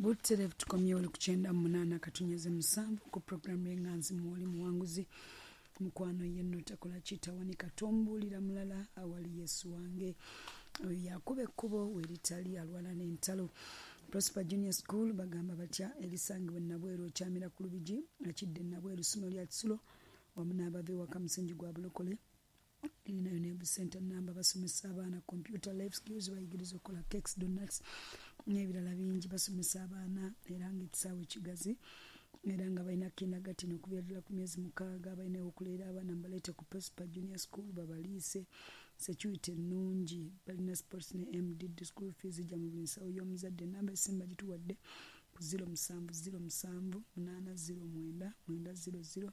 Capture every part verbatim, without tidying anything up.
Butereevu tukomyewo oli ku kyenda mu munaana katunyeze musanvu ku puroguramu y'Eŋŋanzi Mwoli Muwanguzi. Mukwano yenno takola kitawanika, tombuulira mulala awali Yesu wange. Oyo yakuba ekkubo weritali, alwana n'entalo. Prosper Junior School bagamba batya? Erisangibwa Nabweru, okyamira ku Lubigi akidde Nabweru, ssomero lya kisulo wamu n'abava ewaka, musingi gwa bulokole. Erinayo ne center namba. Basomesa abaana computer, life skills, bayigiriza okukola cakes, donuts n'ebirala bingi. Basomesa abaana era nga ekisaawe kigazi, era nga balina kindergarten okuviira ddala ku myezi mukaaga. Balina okuleera abaana, mbaleete ku Prosper Junior School babaliise. Security ennungi, balina sports ne M D D. School fees ijja mu buli nsawo y'omuzadde. Enamba esimu bagituwadde ku zero musanvu zero musanvu munaana zero mwenda mwenda zero zero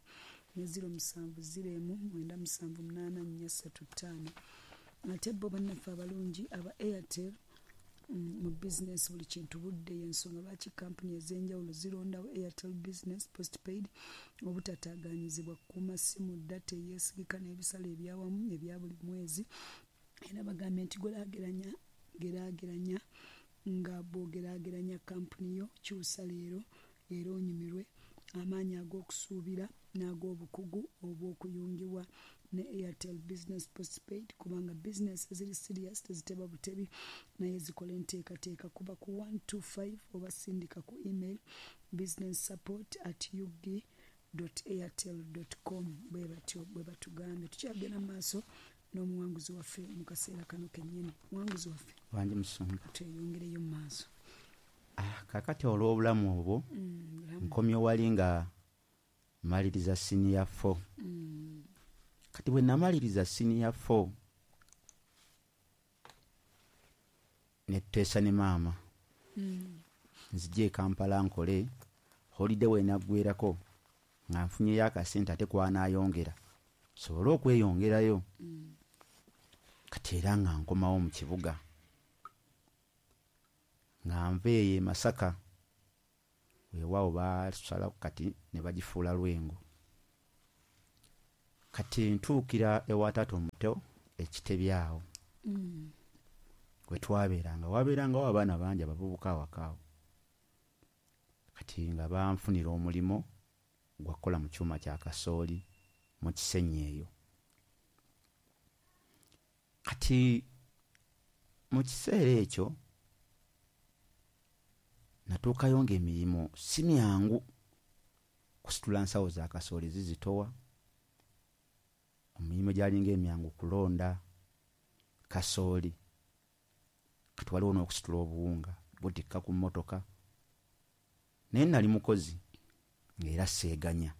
ne zero musanvu zero emu mwenda musanvu munaana nnya ssatu ttaano. Ate bo bannaffe abalungi aba Airtel, mm, mu bizinesi buli kintu budde. Yensonga lwaki kampuni ez'enjawulo zirondawo Airtel Business Postpaid: obutataaganyizibwa, kukuuma simu, data eyeesigika n'ebisale ebyawamu ebya buli mwezi. Era bagambye nti geraageranya, geraageranya nga bw'ogeraageranya kampuni yo. Kyusa leero era onyumirwe amaanyi ag'okusuubira n'ag'obukugu obw'okuyungibwa ne Airtel Business Postpaid, kubanga bizinesi eziri serious teziteba butebi, naye zikola enteekateeka. Kuba ku one two five oba sindika ku email business support at ug airtel com. Bwe batyo bwe batugambye. Tukyagenda mu maaso n'omuwanguzi waffe mu kaseera kano kennyini. Muwanguzi waffe. Wangi musumba. Tweyongereyo mu maaso. Ah, kakati olw'obulamu obwo, Mm, bulamu. nkomye wali nga maliriza senior four. Mm, kati bwe namaliriza senior four, netuteesa ne maama mm, nzije e Kampala nkole holiday. Wenaggwerako nga nfunyeyo akasente ate kwanaayongera sobole okweyongerayo. mm, Kati era nga nkomawo mu kibuga, nga nva eyo e Masaka, weewaawo basalako kati ne bagifuula Lwengo. Kati ntuukira ewa taata omuto ekitebi awo mm, we twabeeranga. Wabeerangawo abaana bangi abavubuka awaka awo. Kati nga banfunira omulimu gwakukola mu kyuma kya kasooli mu Kisenyi eyo. Kati mu kiseera ekyo natuukayo ng'emirimu si myangu. Kusitula nsawo za kasooli zizitowa, emirimu gyalinga emyangu kulonda kasooli. Kati waliwo n'okusitula obuwunga butikka ku mmotoka, naye nali mukozi ng'era seeganya.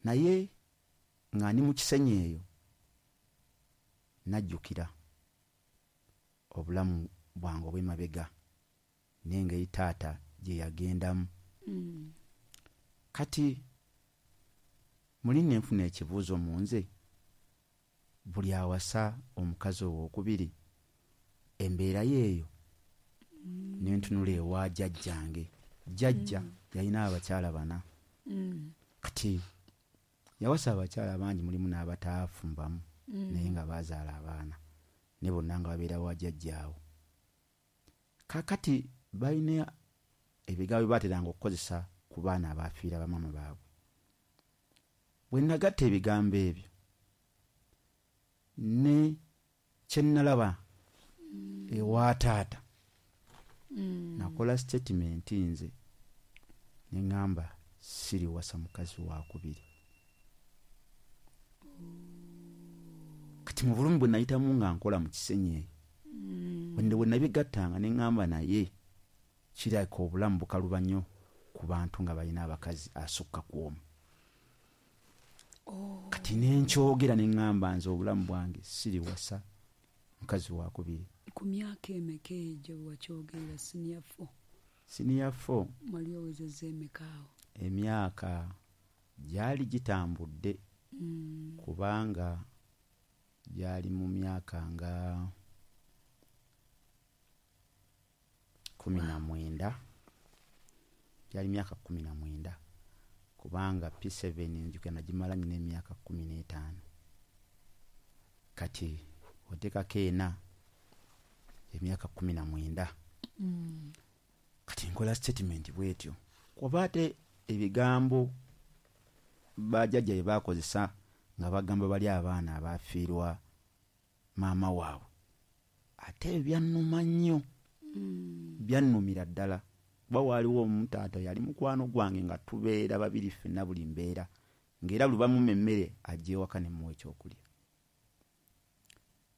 Naye nga ndi mu Kisenyi eyo, najjukira obulamu bwange obw'emabega n'engeri taata gye yagendamu. mm, Kati muli nenfuna ekibuuzo mu nze: buli awasa omukazi owookubiri embeera yeeyo? Nentunula ewa jjajjange. Jjajja yalina abakyala bana. mm, Kati yawasa abakyala bangi, mulimu n'abataafumbamu, mm. naye nga bazaala abaana, ne bonna nga babeera wa jjajjaawo. Kakati balina ebigambo bye baateranga okukozesa ku baana abafiira bamaama baabwe. Bwe nagatta ebigambo ebyo ne kye nalaba ewa taata, Mm. nakola statement nze ne ŋŋamba, siriwasa mukazi wakubiri. Kati mu bulumi bwe nayitamu nga nkola mu Kisenyi eyo, Mm. bwe bwe nabigattanga ne ŋŋamba, naye kirabika obulamu bukaluba nnyo ku bantu nga balina abakazi asukka ku omu. Oh. Kati nenkyogera ne ŋŋamba, nze obulamu bwange siriwasa mukazi wakubiri. Ku myaka emeka egyo bwe wakyogerera, senior four? Senior four. Wali owezezza emeka awo? Emyaka gyali gitambudde, Mm. kubanga gyali mu myaka nga kumi na mwenda, gyali myaka kumi na mwenda, kubanga P seven nzijukira nagimala nyina emyaka kumi n'etaano. Kati oteekako ena, emyaka kumi na mwenda. Mm. Kati Nkola statement bwetyo, kuba ate ebigambo bajjajja bye bakozesa nga bagamba bali abaana abafiirwa maama waabwe, ate byannuma nnyo, Mm. byannumira ddala. Kuba waaliwo omutaata yali mukwano gwange nga tubeera babiri ffenna buli mbeera, ng'era buli bamumma emmere ajja ewaka ne mmuwa ekyokulya.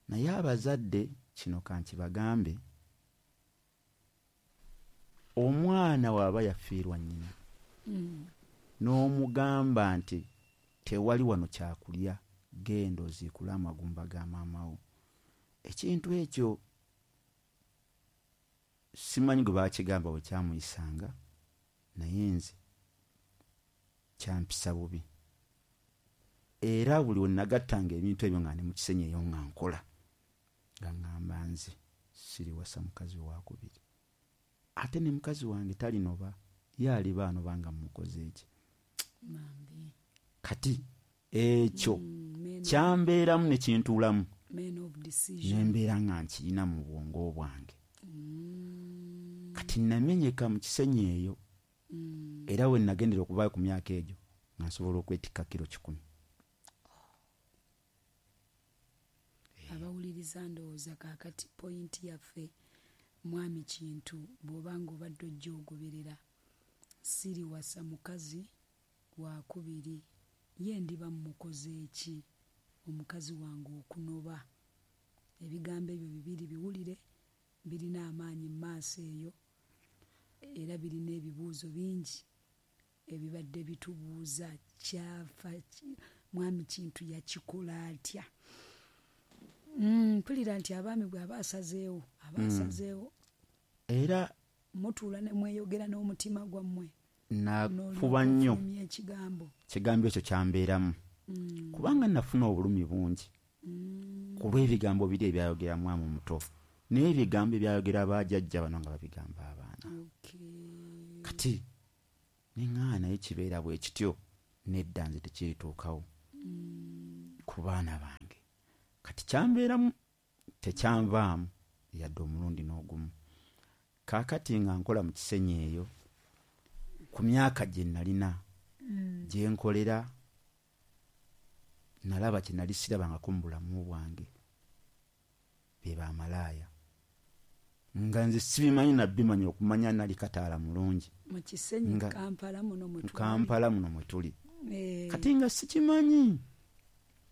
Naye abazadde kino kankibagambe, omwana bw'aba yafiirwa nnyina Mm. n'omugamba nti tewali wano kyakulya, genda oziikule amagumba ga maama wo, ekintu ekyo simanyi gwe baakigamba bwe kyamuyisanga, naye nze kyampisa bubi. Era buli we nagattanga ebintu ebyo nga ndi mu Kisenyi eyo nga nkola, nga ŋŋamba nze siriwasa mukazi waakubiri, ate ne mukazi wange talinoba, ye aliba anoba nga mmukoze eki. Bambi. Kati ekyo Mm, men kyambeeramu ne kintuulamu, men of decision. Ne mbeera nga nkirina mu bwongo bwange. Mm. Kati namenyeka mu Kisenyi eyo, Mm. era we nagendera okuvaayo ku myaka egyo nga nsobola okwetikka kiro kikumi. Abawuliriza ndowooza kaakati pointi yaffe, mwami Kintu, bw'oba ng'obadde ojja ogoberera, siriwasa mukazi wakubiri, ye ndiba mmukoze eki omukazi wange okunoba? Ebigambo ebyo bibiri biwulire, birina amaanyi mu maaso eyo, era birina ebibuuzo bingi ebibadde bitubuuza. Kyafa ki? Mwami Kintu yakikola atya? Mm, mpulira nti abaami bw'aba asazeewo, aba Mm. asazeewo. Era mutuula ne mweyogera n'omutima gwammwe. Nafuba nnyo. N'olyoka ekigambo. Ekigambo ekyo kyambeeramu. Mm. Kubanga nafuna obulumi bungi. Mm. Ku lw'ebigambo biri ebyayogera mwami omuto, n'ebigambo ebyayogera bajjajja bano nga babigamba abaana. Okay. Kati ne ŋŋaana naye kibeera bwe kityo, nedda nze tekirituukawo Mm. ku baana bange. Kati kyambeeramu tekyanvaamu yadde omulundi n'ogumu. Kaakati nga nkola mu Kisenyi eyo, ku myaka gye nalina, Mm. gye nkolera, nalaba kye nali sirabangako mu bulamu bwange, be bamalaaya. Nga nze sibimanyi nabbimanyi okumanya nali kataala mulungi. Mu Kisenyi, Nga Kampala muno mwe tuli. Kampala muno mwe tuli. Eh. Kati nga sikimanyi.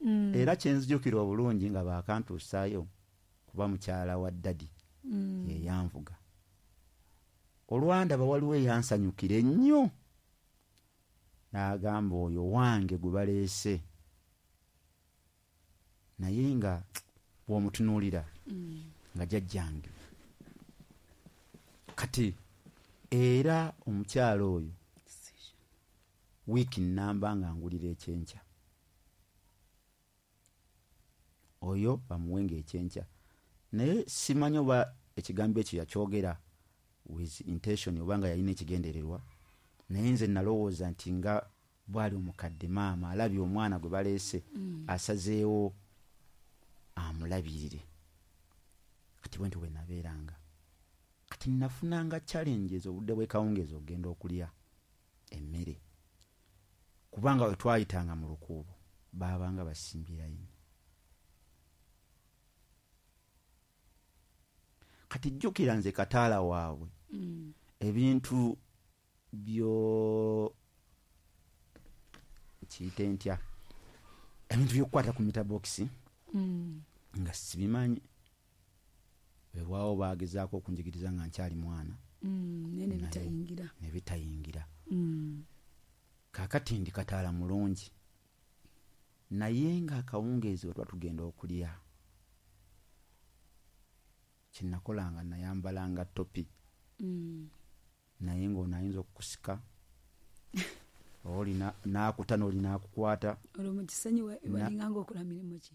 Mm. Era kye nzijukira obulungi nga baakantuusaayo kuba mukyala wa ddadi Mm. ye yanvuga. Olwandaba waliwo eyansanyukira ennyo, n'agamba oyo wange gwe baleese, naye nga bw'omutunuulira Mm. nga jjajjange. Kati era omukyala oyo wiiki nnamba nga ngulira ekyenkya, oyo bamuwenga ekyenkya, naye simanyi oba ekigambo ekyo yakyogera with intention oba nga yalina ekigendererwa, naye nze nalowooza nti nga bw'ali omukadde maama alabye omwana gwe baleese, Mm. asazeewo amulabirire. Kati bwe nti bwe nabeeranga, kati nafunanga challenges obudde bw'ekawungeezi okugenda okulya emmere, kubanga we twayitanga mu lukuubo baabanga basimbye layini. Kati jjukira nze kataala waabwe, Mm. ebintu byo kiyite ntya, ebintu by'okukwata ku meter box Mm. nga sibimanyi. Weewaawo baagezaako okunjigiriza nga nkyali mwana. Mm, naye ne Naye bitayingira. ne bitayingira. Mm. Kaakati ndi kataala mulungi, naye ng'akawungeezi we tuba tugenda okulya, kye nakolanga nayambalanga topi. Mm. Naye ng'ono ayinza okukusika, oli na-, n'akuta n'oli n'akukwata. Olwo mu Kisenyi wa-, Na- walinganga okola mirimu ki?